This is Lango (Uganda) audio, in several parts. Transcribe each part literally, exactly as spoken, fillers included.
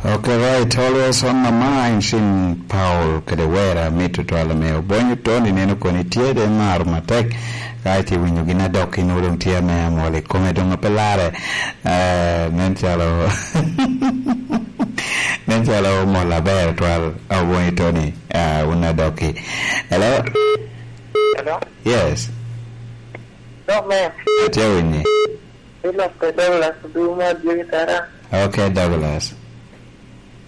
Okay, right. Always on my mind, Saint Paul, kede wera, mito twal ame Obonyo Tony, neno koni tye de maro matek. Ka iti winyo gin adok, in odong tye ame amol i kome, dong ape lare. Eh, nen calo, nen calo mol aber twal, Obonyo Tony, ah, un adok-ki. Hello? Hello? Yes. Dok, man. Atye winyi. Ilok pe Douglas Duma, Jimmy Tara. Okay, Douglas.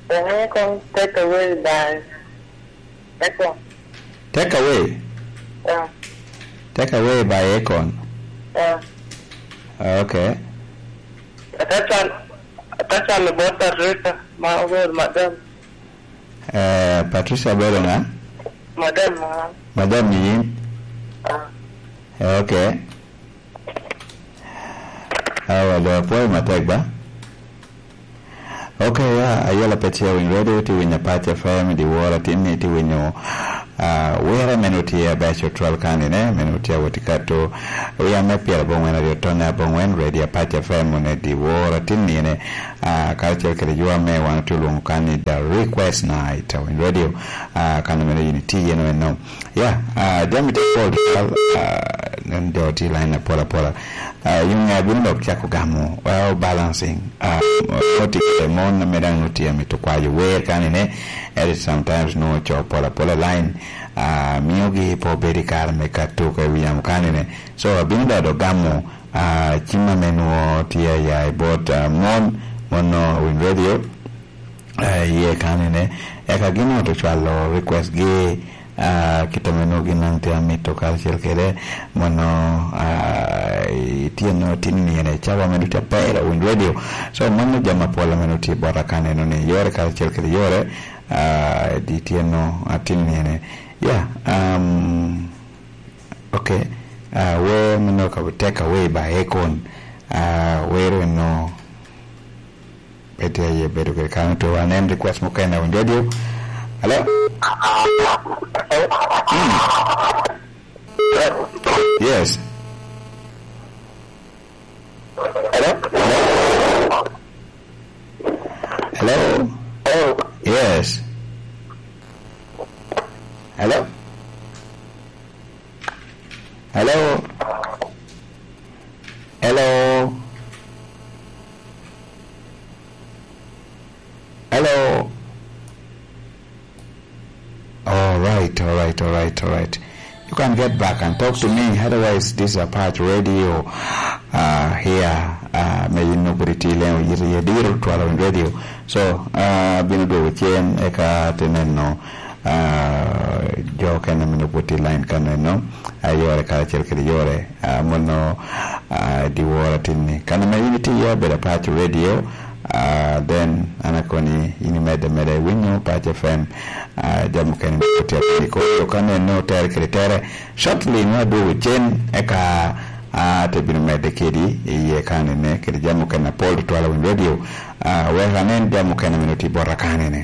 Ene kong take away by Akon. Take away? Yeah. Take away by Akon? Yeah. Okay. Atachal, atachal about Patricia, ma obedo madam. Eh, Patricia obedo nga? Madam, ah. Madam ni yin? Ah. Eh, okay. Awa, do apwoyo matek ba? Okay, ya, ayela pe tye winyo radio, tye winyo Apac F M, di woro atin ni tye winyo, ah, wira meno tye abeco twal kani ne, meno tye awot i kato, wi ame pyera bongwen aryo tone abongwen, radio Apac F M, one di woro atin ni ne, ah, karacel kede jo ame wan otye olwongo kani the request night, winyo radio, ah, kani meno yin itye yen eno. Ya, ah, jami tye pol twal, ah, nen jo tye line apol apola. Ah, yung abino dok cako gamo, well, balancing. Ah, mo-, mo tye kede mon ame dang nongo tye amito kwayo wer kani ne, ento sometimes nongo co pol apola line, ah, miogi pe obedo i kare me kato ka i wi yamo kani ne. So, abino dok dok gamo, ah, cim ame nongo tye aya i bot, ah, mon, mon nongo Win Radio. Eh, iye kanene, eka gin ot ocwalo request gi, ah, kit ame nongo gin daŋ tye amito karacel kede mono, ah, itye nongo tin nino i cawa me ducu aper Win Radio. So, mano jami apol ame nongo tye bota kaneno ni yore karacel kede yore, ah, di tye nongo atin nino. Yeah, um, okay. Ah, wer me nongo ka take away by Akon. Ah, wer eno Pe tye aye bedo kede kano to anen request mukene awinjo radio. Hello? Mm. Yes. Hello? Hello? Hello? Yes. Hello? Hello? Hello? Hello? All right, all right, all right, all right. You can get back and talk to me. Otherwise, this is Apac Radio, uh, here, uh, me yin nobody ti leo yiri yediro twala radio. So, uh, bino dwogo cen eka tineno, uh, jo kene mino puti line kaneno, uh, yore karacel kede yore, uh, mono, uh, diwara tinni. Kano me yin iti ya beda Apac Radio, Ah, then, an akoni, in imedde meda i winyo Pac F M, ah, jami mukene ni otyeko ni kodi, okane ne otere kede tere. Shortly, nwa adwogo cen, eka, ah, te bino medde kedi i yie kanene, kede jami mukene apol tutwal a Win Radio. Ah, wek anen jami mukene mene oti bota kanene.